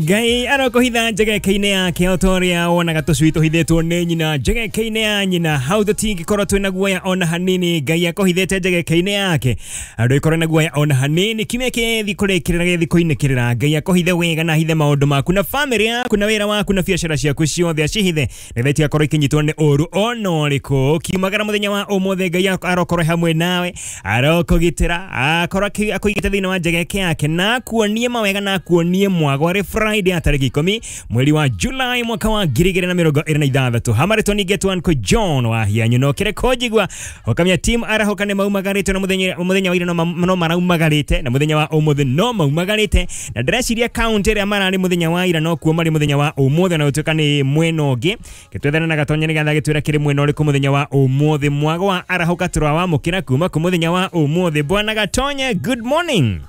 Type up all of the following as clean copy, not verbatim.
Ngai arokuhitha njegeke-inĩ yake o ta ũrĩa wonaga tũcui tũhithĩtwo nĩ nyina njegeke-inĩ ya nyina. Hau tũtingĩkorwo twĩna guoya ona hanini. Ngai akũhithĩte njegeke-inĩ yake, ndũgĩkorwo na guoya ona hanini. Kiumia kĩthi kũrĩkĩrĩra gĩthi kũinĩkĩrĩra, Ngai akũhithe wega na ahithe maũndũ maku na famĩlĩ yaku na wĩra waku na biacara ciaku ciothe acihithe nĩgetha itigakorwo ikinyitwo nĩ ũru ona ũrĩkũ. Kiumagara mũthenya wa ũmũthĩ, Ngai arokorwo hamwe nawe, arokũgitĩra, akorwo akũigĩte thĩinĩ wa njegeke yake na akuonie mawega na akuonie mwago. Arĩ Friday ya tarĩki 10 mweri wa July mwaka wa 2026. Hamarĩtwo ningĩ Uncle John wa Hianyu no kĩrĩ kũnjigua ũkamenya team arahũka nĩ maumagarĩte na mũthenya wa ira no maraumagarĩte na mũthenya wa ũmũthĩ no maumagarĩte, na ndĩreciria kaunti ĩrĩa mararĩ mũthenya wa ira no kuo marĩ mũthenya wa ũmũthĩ, na gũtuĩka nĩ mwena ũngĩ. Gĩtwethane na Gatonya nĩgetha gĩtwĩra kĩrĩ mwena ũrĩkũ mũthenya wa ũmũthĩ. Mwago wa arahũka tũrawamũkĩra kuma kũ mũthenya wa ũmũthĩ. Bwana Gatonye, good morning.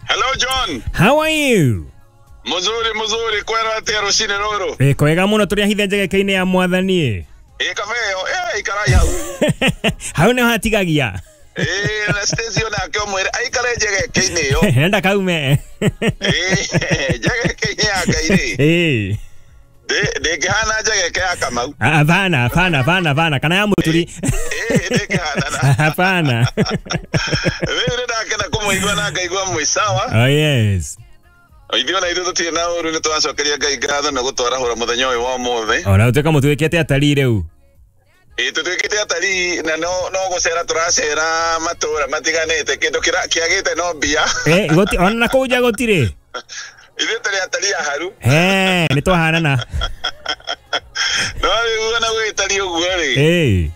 Hello John. How are you? Muzuri muzuri, kwera atia rucini ruru? Kwega muno, tũrĩ ahithe njegeke-inĩ ya mwathani. Ĩ kabeo, ikarai hau. Hau nĩho hatigagia. Na Stacy onake ũmwĩre aikare njegeke-inĩ ĩyo. Enda kaume. Njegeke-inĩ ya Ngai rĩ. Ndĩngĩhana njegeke ya Kamau. Hapana, hapana, hapana, hapana. Kana ya Mũturi. Ndĩngĩhana. Hapana. Rĩu nĩndakena kũmũigua na ngaigua mwĩ sawa. Oh yes. Ithuĩ ona ithuĩ tũtirĩ na ũru, nĩ tũracokeria Ngai ngatho nĩ gũtwarahũra mũthenya ũyũ wa ũmũthĩ. Ona ũtuĩka mũtuĩkĩte atarii rĩu. Ĩ tũtuĩkĩte atarii na no gũcera tũracera matũra matiganĩte, kĩndũ kĩagĩte no mbia. Ona na kũu nja gũtirĩ. Ithuĩ tũrĩ atarii aharu. Nĩ twahanana. No rĩu ona gũgĩtariĩ ũguo rĩ.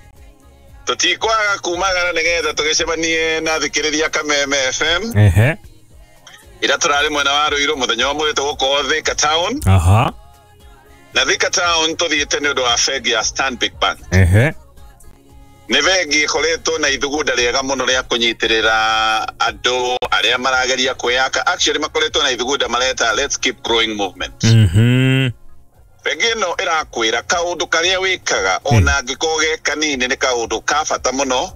Tũtikwaga kumagara nĩgetha tũgĩcemanie na thikĩrĩria Kameme FM. Ira tũrarĩ mwena wa Ruiru mũthenya wa ũmũthĩ tũgũkorwo Thika Town. Aha. Na Thika Town tũthiĩte nĩ ũndũ wa bengi ya Stanbic Bank. Nĩ bengi ĩkoretwo na ithugunda rĩega mũno rĩa kũnyitĩrĩra andũ arĩa marageria kwĩyaka. Actually makoretwo na ithugunda mareta Let's Keep Growing Movement. Bengi ĩno ĩrakwĩra kaũndũ karĩa wĩkaga ona angĩkorwo ge kanini nĩ kaũndũ ka bata mũno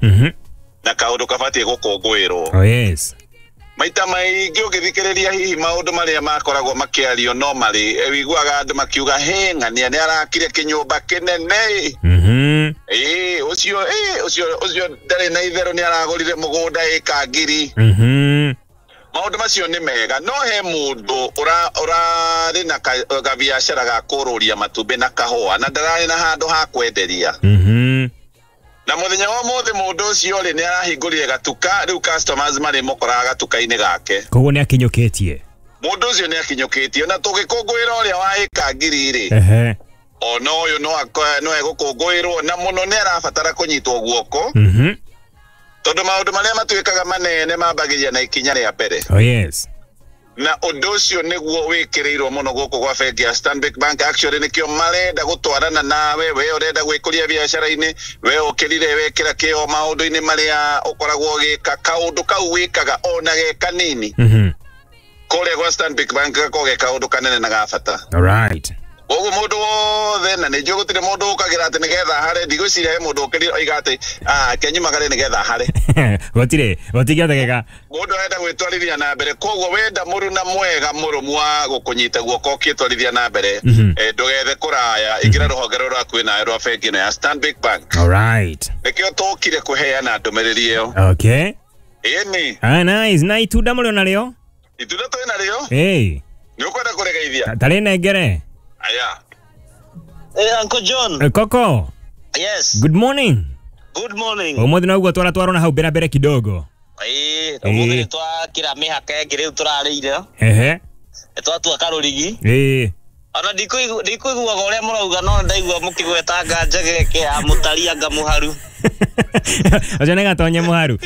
na kaũndũ kabatiĩ gũkũngũĩrwo. Oh yes. Maita maingĩ ũngĩthikĩrĩria hihi maũndũ marĩa makoragwo makĩario no marĩ wĩiguaga andũ makiuga he ng'ania nĩ arakire kĩnyũmba kĩnene. Ũcio ũcio ndarĩ na itherũ nĩ aragũrire mũgũnda ĩka 1000. Maũndũ macio nĩ mega, no he mũndũ ũrarĩ na gabiacara ga kũrũria matumbĩ na kahũa na ndararĩ na handũ ha kwenderia. Na mũthenya wa ũmũthĩ mũndũ ũcio rĩ nĩ arahingũrire gatuka, rĩu customers marĩ mũkoraga gatuka-inĩ gake. Koguo nĩ akinyũkĩtie. Mũndũ ũcio nĩ akinyũkĩtie na tũgĩkũngũĩra ũrĩa wa ĩka 1000 rĩ. Ona ũyũ no egũkũngũĩrwo na mũno nĩ arabatara kũnyitwo guoko. Tondũ maũndũ marĩa matuĩkaga manene mambagĩrĩria na ikinya rĩa mbere. Oh yes. Na ũndũ ũcio nĩguo wĩkĩrĩirwo mũno gũkũ gwa bengi ya Stanbic Bank. Actually nĩkĩo marenda gũtwarana nawe, we ũrenda gwĩkũria biacara-inĩ, we ũkĩrire wekĩra kĩo maũndũ-inĩ marĩa ũkoragwo ũgĩka, kaũndũ kau wĩkaga ona ge kanini. Kũrĩa gwa Stanbic Bank gakoragwo ge kaũndũ kanene na ga bata. All right. Koguo mũndũ wothe, na nĩ njũĩ gũtirĩ mũndũ ũkagĩra atĩ nĩgetha hare, ndigwĩciria he mũndũ ũkĩrire oiga atĩ kenyumagare nĩgetha hare. Gũtirĩ, gũtingĩhotekeka. Mũndũ arenda gwĩtwarithia na mbere, koguo wenda mũruna mwega mũrũmu wa gũkũnyita guoko ũkĩtwarithia na mbere, ndũgethe kũraya, ingĩra rũhonge rũrĩa rwakuhĩ nawe rwa bengi ĩno ya Stanbic Bank. All right. Nĩkĩo tũkire kũheana ndũmĩrĩri ĩyo. Okay. Ĩni. Nice. Na itunda mũrĩ onarĩo? Itunda twĩ narĩo? Nĩ ũkwenda kũrĩgeithia? Tarĩ nengere. Aya. Uncle John. Koko. Yes. Good morning. Good morning. Ũmũthĩ noguo twaratwarwo na hau mbere mbere kidogo. Ũmũthĩ twakĩra mĩhaka ĩngĩ rĩu tũrarĩire. Twatua karũrigi. Ona ndikũiguaga ũrĩa mũrauga no ndaigua mũkĩgwetanga njegeke ya mũtari anga mũharu. Ũcio nĩ Gatonye mũharu.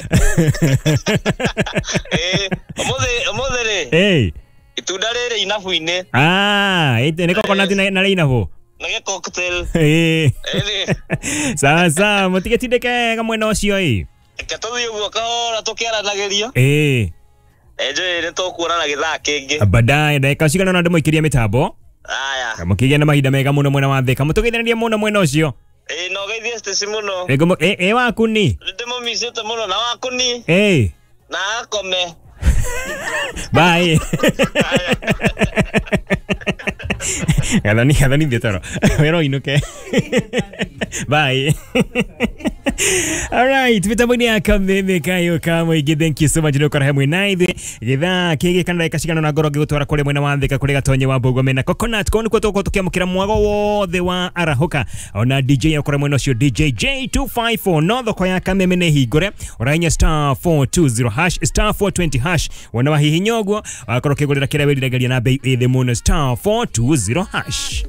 Ũmũthĩ rĩ. Itunda rĩrĩ inabu-inĩ. Nĩ coconut na rĩ inabu. Nĩ gĩ cocktail. Sawa sawa, mũtigĩtindĩke wega mwena ũcio ĩ. Reke tũthiĩ ũguo kahora tũkĩaranagĩria. Njũĩ nĩ tũkuonana gĩthaa kĩngĩ. Baadaye ndagĩka cigana ũna ndĩmũikĩrie mĩtambo. Aya. Mũkĩgĩa na mahinda mega mũno mwena wa Thika. Mũtũgeithanarie mũno mwena ũcio. No geithie Stacy mũno. Ĩ waku ni? Ndĩmũmicĩte mũno na waku ni? Na akome. Bye. Gathani gathani thiĩ toro wĩra ũinũke. Bye. Alright, mitambo-inĩ ya kameme kayo ka mũingĩ, thank you so much nĩ ũkora hamwe na ithuĩ gĩthaa kĩgĩ kana ndagĩka cigana na ngoro ngĩgũtwara kũrĩa mwena wa Thika kũrĩ Gatonye wa Mbũgua mena Coconut kũu nĩkuo tũgũkorwo tũkĩamũkĩra mwago wothe wa arahũka ona DJ okora mwena ũcio DJ J254 no thoko ya kameme nĩ hingũre ũrahinya star 420 hash star 420 hash wona wahihinya ũguo wakorwo ũkĩgũrĩra kĩrĩa wĩriragĩria na bei ĩ thĩ mũno star 420 hash.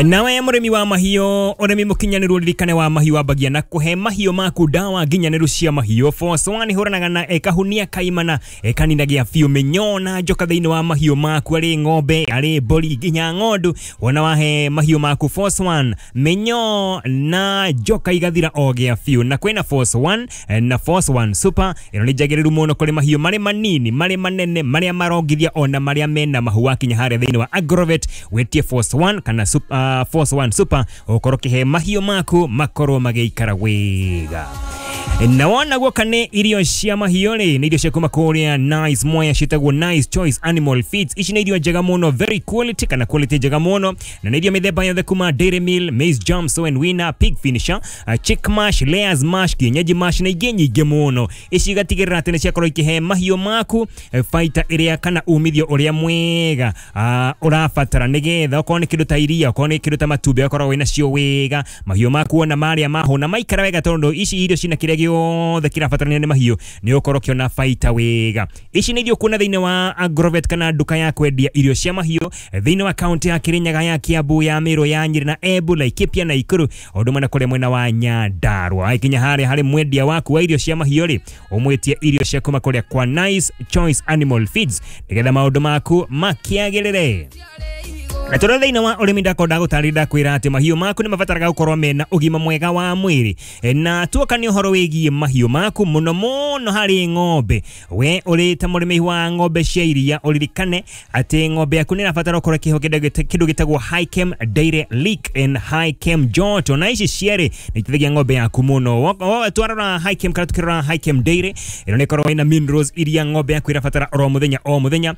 Nawe mũrĩmi wa mahiũ, ũrĩmi mũkinyanĩru ũririkane wa mahiũ wambagia na kũhe mahiũ maku ndawa nginyanĩru cia mahiũ. Force One ihũranaga na ĩkahunia kaimana ĩkaninagia biũ mĩnyoo na njoka thĩinĩ wa mahiũ maku, arĩ ng'ombe arĩ mbũri nginya ng'ondu. Wona wahe mahiũ maku Force One, mĩnyoo na njoka igathira o gĩa biũ. Na kwĩna Force One na Force One Super, ĩno nĩ njagĩrĩru mũno kũrĩ mahiũ marĩ manini marĩ manene marĩa marongithia ona marĩa mena mahu wakinya harĩa thĩinĩ wa Agrovet, wĩtie Force One kana Super, Force One Super ukorwo kihe mahiũ maku makorwo magĩikara wega. Na wona guoka nĩ irio cia mahiũ rĩ, nĩ irio cia kuma kũrĩa Nice Moya ciĩtagwo Nice Choice Animal Feeds. Ici nĩ irio njega mũno, very quality kana quality njega mũno, na nĩ irio mĩthemba yothe kuma Dairy Meal, Maize Jam, Sow and Winner, Pig Finisher, Chick Mash, Layers Mash, Kienyeji Mash na ingĩ nyingĩ mũno. Ici igatigĩrĩra atĩ nĩ ciakorwo ikĩhe mahiũ maku baita ĩrĩa kana umithio ũrĩa mwega ũrabatara, nĩgetha okorwo nĩ kĩndũ ta iria, okorwo nĩ kĩndũ ta matumbĩ, okorwo wĩna cio wega mahiũ maku ona marĩa mahũna maikara wega, tondũ ici irio cina kĩrĩa gĩothe kĩrabatarania nĩ mahiũ nĩ ũkorwo ũkĩona baita wega. Ici nĩ irio kuona thĩinĩ wa Agrovet kana nduka ya kwendia irio cia mahiũ thĩinĩ wa kaunti ya Kirinyaga, ya Kiambu, ya Meru, ya Nyeri na Embu, Laikipia na Nakuru, ũndũ ũmwe na kũrĩa mwena wa Nyandarua. Aikinya harĩa harĩ mwendia waku wa irio cia mahiũ rĩ, ũmwĩtie irio cia kuma kũrĩa kwa Nice Choice Animal Feeds nĩgetha maũndũ maku makĩagĩrĩre. Na tondũ thĩinĩ wa ũrĩmi ndakorwo ndagũtarĩria ndakwĩra atĩ mahiũ maku nĩ mabataraga gũkorwo mena ũgima mwega wa mwĩrĩ. Na tuoka nĩ ũhoro wĩgiĩ mahiũ maku mũno mũno harĩ ng'ombe, we ũrĩ ta mũrĩmi wa ng'ombe cia iria ũririkane atĩ ng'ombe yaku nĩ ĩrabatara gũkorwo ĩkĩheo kĩndũ gĩtagwo High-Chem Dairy Lick and High-Chem Joto, na ici cierĩ nĩ iteithagia ng'ombe yaku mũno. Twarora High-Chem kana tukĩrora High-Chem Dairy, ĩno nĩ ĩkoragwo ĩna minerals iria ng'ombe yaku ĩrabatara oro mũthenya o mũthenya.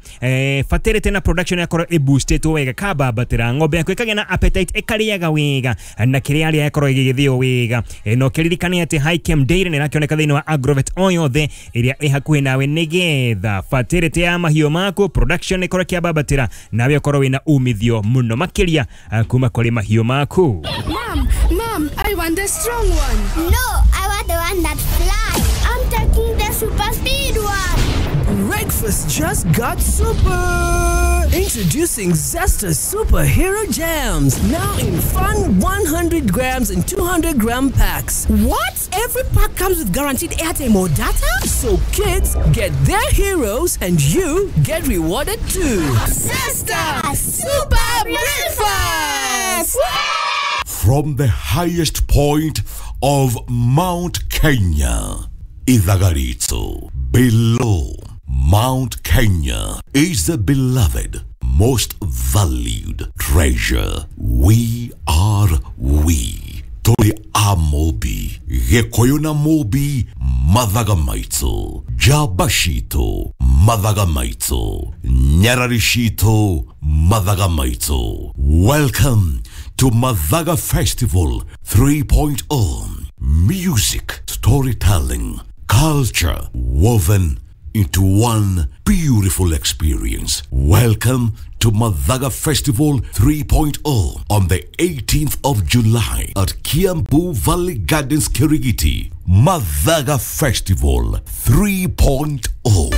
Fertility na production yakorwo ĩboostĩtwo wega, kaba batira ng'ombe yaku ĩkagĩa na appetite ĩkarĩaga wega na kĩrĩa arĩa ĩkorwo ĩgĩgĩthĩo wega. No kĩririkane atĩ High-Chem Dairy nĩ ĩrakĩoneka thĩinĩ wa Agrovet o yothe ĩrĩa ĩ hakuhĩ nawe, nĩgetha fertility ya mahiũ maku production ĩkorwo ĩkĩambatĩra nawe ũkorwo wĩna umithio mũno makĩria kuma kũrĩ mahiũ maku. Mom, Mom, I want the strong one. No, I want the one that flies. I'm taking the super speed one. Breakfast just got super! Introducing Zesta Superhero Jams, now in fun 100 grams and 200 gram packs. What? Every pack comes with guaranteed airtime or data? So kids get their heroes and you get rewarded too. Zesta Super Breakfast! From the highest point of Mount Kenya, Ithagarito, below Mount Kenya is the beloved, most valued treasure. We are we. Tuli Amobi, Gĩkũyũ na Mũmbi, mathaga maitũ, njamba citũ, mathaga maitũ, nyarari citũ, mathaga maitũ. Welcome to Mathaga Festival 3.0. Music, storytelling, culture woven into one beautiful experience. Welcome to Mathaga Festival 3.0 on the 18th of July at Kiambu Valley Gardens, Kirigiti. Mathaga Festival 3.0.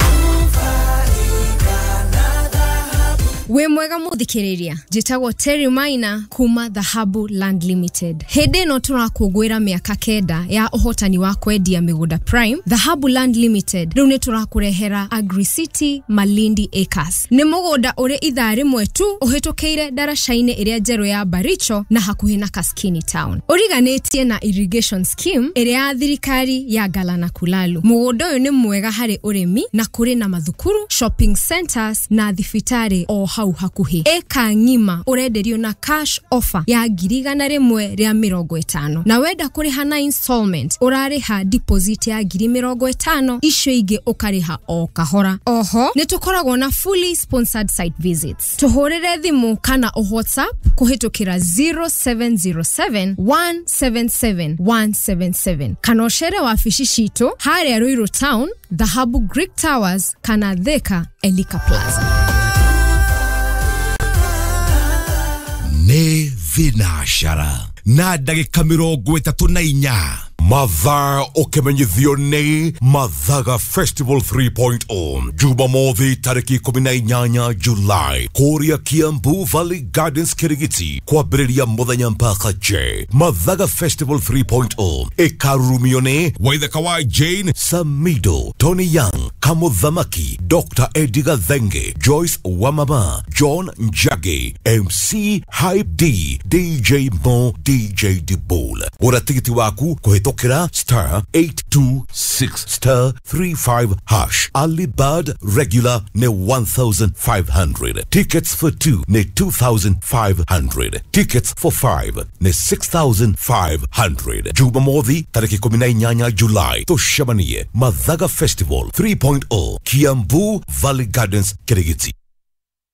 Wĩ mwega mũthikĩrĩria, njĩtagwo Terry Maina kuma Dhahabu Land Limited. Hĩndĩ ĩno tũrakũngũĩra mĩaka 9 ya ũhotani wa kwendia mĩgũnda Prime. Dhahabu Land Limited rĩu nĩ tũrakũrehera Agri City Malindi Acres. Nĩ mũgũnda ũrĩ ithaa rĩmwe tu ũhĩtũkĩire ndaraca-inĩ ĩrĩa njerũ ya Baricho na hakuhĩ na Kaskini Town. Ũriganĩtie na irrigation scheme ĩrĩa ya thirikari ya Galana Kulalu. Mũgũnda ũyũ nĩ mwega harĩ ũrĩmi na kũrĩ na mathukuru, shopping centers na thibitarĩ o hau hau hakuhĩ. Eka ng'ima ũrenderio na cash offer ya 150,000, na wenda kũrĩha na installment ũrarĩha deposit ya 50,000, icio ingĩ ũkarĩha o kahora. Oho nĩ tũkoragwo na fully sponsored site visits. Tũhũrĩre thimũ kana o WhatsApp kũhĩtũkĩra 0707 177 177 kana ũcere wabici citũ harĩa Ruiru Town, Dhahabu Greek Towers kana Thika Elika Plaza. Nĩ thinacara na ndagĩka 34. Mathaa ũkĩmenyithio nĩ Mathaga Festival 3.0 Jumamothi tarĩki 18 Julai kũrĩa Kiambu Valley Gardens Kirigiti, kwambĩrĩria mũthenya mpaka J. Mathaga Festival 3.0 ĩkarurumio nĩ Waithaka wa Jane Samido, Tony Young, Kamuthamaki, Dr. Eddie Gathenge, Joyce Wamama, John Njagi, MC Hype D, DJ Mo, DJ Dibol. Gũra tigiti waku kũhĩtũkĩra star 826 star 35 hash. Early bird regular nĩ 1500. Tickets for 2 nĩ 2500. Tickets for 5 nĩ 6500. Jumamothi tarĩki 18 Julai tũcemanie Mathaga Festival 3.0 Kiambu Valley Gardens Kirigiti.